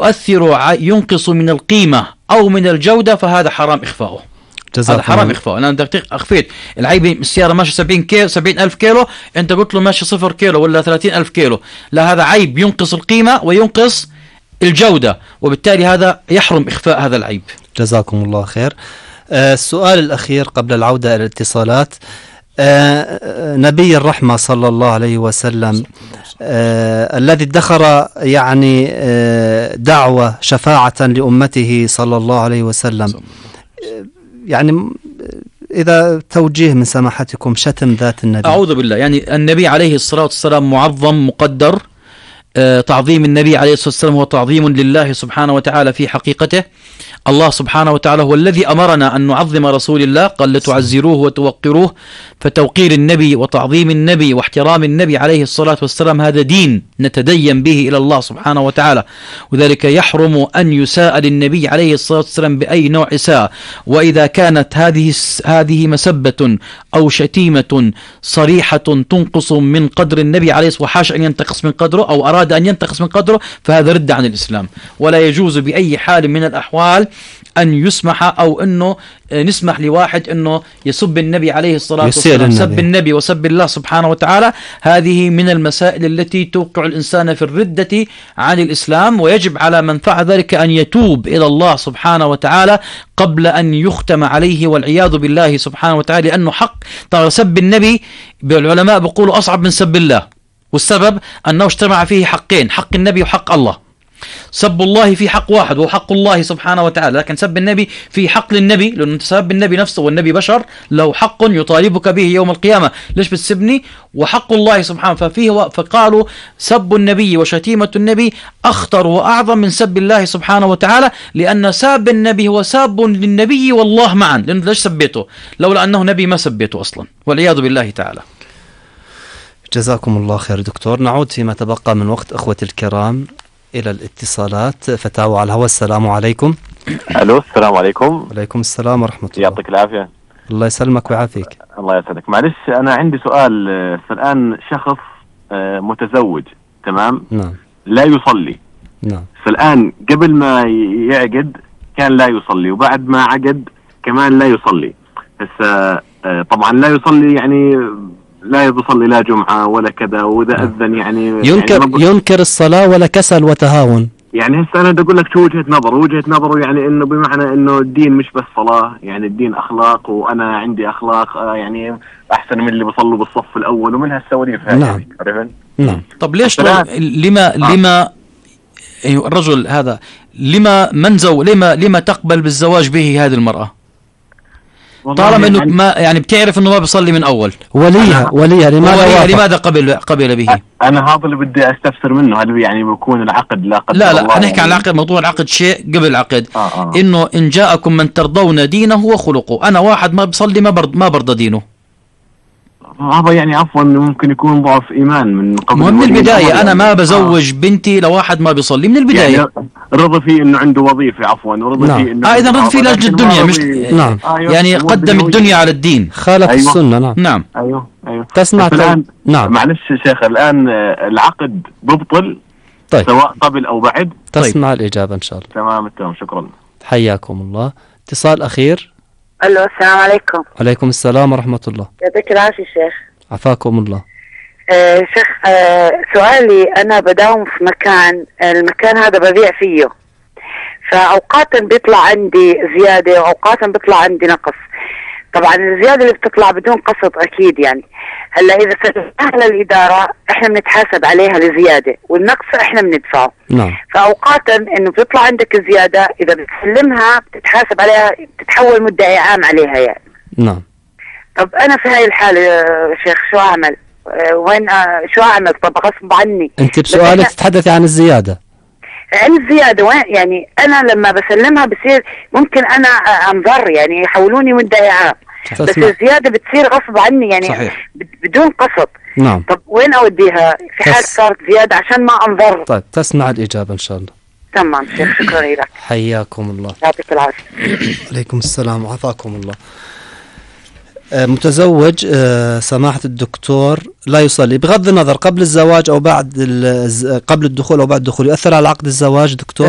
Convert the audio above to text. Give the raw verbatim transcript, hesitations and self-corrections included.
يؤثر ينقص من القيمة أو من الجودة فهذا حرام إخفاؤه. هذا حرام إخفاؤه. أنا بدك أخفيت العيب السيارة ماشي سبعين كيلو سبعين ألف كيلو، أنت قلت له ماشي صفر كيلو ولا ثلاثين ألف كيلو، لا هذا عيب ينقص القيمة وينقص الجودة، وبالتالي هذا يحرم إخفاء هذا العيب. جزاكم الله خير. آه السؤال الأخير قبل العودة إلى الاتصالات. آه نبي الرحمة صلى الله عليه وسلم آه الذي ادخر يعني آه دعوة شفاعة لأمته صلى الله عليه وسلم، آه يعني إذا توجيه من سماحتكم شتم ذات النبي. أعوذ بالله. يعني النبي عليه الصلاة والسلام معظم مقدر. آه تعظيم النبي عليه الصلاة والسلام هو تعظيم لله سبحانه وتعالى في حقيقته. الله سبحانه وتعالى هو الذي أمرنا أن نعظم رسول الله، قال لتعزروه وتوقروه، فتوقير النبي وتعظيم النبي واحترام النبي عليه الصلاة والسلام هذا دين نتدين به إلى الله سبحانه وتعالى، وذلك يحرم أن يساء للنبي عليه الصلاة والسلام بأي نوع إساءة. وإذا كانت هذه هذه مسبة أو شتيمة صريحة تنقص من قدر النبي عليه الصلاة والسلام وحاش أن ينتقص من قدره أو أراد أن ينتقص من قدره فهذا رد عن الإسلام، ولا يجوز بأي حال من الأحوال أن يسمح أو أنه نسمح لواحد أنه يسب النبي عليه الصلاة والسلام. سب النبي وسب الله سبحانه وتعالى هذه من المسائل التي توقع الإنسان في الردة عن الإسلام، ويجب على من فعل ذلك أن يتوب إلى الله سبحانه وتعالى قبل أن يختم عليه والعياذ بالله سبحانه وتعالى، لأنه حق. ترى سب النبي العلماء بيقولوا أصعب من سب الله، والسبب أنه اجتمع فيه حقين، حق النبي وحق الله. سب الله في حق واحد وهو حق الله سبحانه وتعالى، لكن سب النبي في حق للنبي، لأنه أنت سب النبي نفسه والنبي بشر له حق يطالبك به يوم القيامة، ليش بتسبني؟ وحق الله سبحانه. ففيه فقالوا سب النبي وشتيمة النبي أخطر وأعظم من سب الله سبحانه وتعالى، لأن ساب النبي هو ساب للنبي والله معا، لأنه ليش سبيته؟ لولا أنه نبي ما سبيته أصلا، والعياذ بالله تعالى. جزاكم الله خير دكتور. نعود فيما تبقى من وقت أخوتي الكرام إلى الاتصالات. فتاوى على الهواء. السلام عليكم. ألو السلام عليكم. وعليكم السلام ورحمة الله. يعطيك العافية. الله يسلمك ويعافيك. الله يسعدك. معلش أنا عندي سؤال. فالآن شخص متزوج تمام، نعم، لا يصلي، نعم، فالآن قبل ما يعقد كان لا يصلي، وبعد ما عقد كمان لا يصلي. بس طبعا لا يصلي يعني لا يصلي لا جمعة ولا كذا، وإذا أذن يعني ينكر يعني ينكر الصلاة ولا كسل وتهاون. يعني هسه أنا بدي أقول لك شو وجهة نظر وجهة نظره يعني إنه بمعنى إنه الدين مش بس صلاة، يعني الدين أخلاق، وأنا عندي أخلاق يعني أحسن من اللي بصلوا بالصف الأول، ومن هالسواليف هاي. نعم. يعني نعم. طب ليش لما آه. لما الرجل هذا لما منزو لما لما تقبل بالزواج به هذه المرأة؟ طالما انه يعني ما يعني بتعرف انه ما بيصلي من اول. وليها وليها لماذا وليها لماذا قبل قبل به؟ انا هذا اللي بدي استفسر منه، هل يعني بيكون العقد لا قدر لا لا الله نحكي يعني؟ عن العقد. موضوع العقد شيء قبل العقد. آه آه. انه ان جاءكم من ترضون دينه وخلقه. انا واحد ما بصلي ما برض ما برضى دينه، هذا يعني عفوا ممكن يكون ضعف ايمان من قبل. من البدايه انا ما بزوج آه. بنتي لواحد ما بيصلي من البدايه. يعني رضى فيه انه عنده وظيفه عفوا، ورضى نعم. فيه انه اه اذا رضى فيه لاجل الدنيا مش نعم. آه يعني قدم الدنيا على الدين، خالف أيوة. السنه. نعم نعم ايوه ايوه تسمع الآن نعم. معلش شيخ، الان العقد ببطل طيب. سواء قبل او بعد. تسمع طيب. الاجابه ان شاء الله. تمام تمام شكرا. حياكم الله. اتصال اخير. الو السلام عليكم. وعليكم السلام ورحمه الله. يعطيك العافيه شيخ. عفاكم الله. آه شيخ آه سؤالي، أنا بداوم في مكان، المكان هذا ببيع فيه، فأوقاتا بيطلع عندي زيادة وأوقاتا بيطلع عندي نقص. طبعا الزيادة اللي بتطلع بدون قسط أكيد يعني. هلا إذا سلمناها للإدارة إحنا بنتحاسب عليها لزيادة، والنقص إحنا بندفعه. نعم. فأوقاتا إنه بيطلع عندك زيادة، إذا بتسلمها بتتحاسب عليها، بتتحول مدعي عام عليها يعني. نعم. طب أنا في هاي الحالة يا شيخ شو أعمل؟ وين شو أعمل؟ طب غصب عني. أنت بسؤالك تتحدثي عن الزيادة. عن الزيادة وين يعني أنا لما بسلمها بصير ممكن أنا أنظر يعني يحولوني مدعي عام، بس الزيادة بتصير غصب عني يعني صحيح. بدون قسط. نعم. طب وين أوديها في حال تس... صارت زيادة عشان ما أنظر؟ طيب تسمع الإجابة إن شاء الله. تمام شيخ شكرا لك. حياكم الله. يعطيك العافية. عليكم السلام وعافاكم الله. متزوج سماحة الدكتور لا يصلي بغض النظر قبل الزواج أو بعد قبل الدخول أو بعد الدخول، يؤثر على عقد الزواج دكتور؟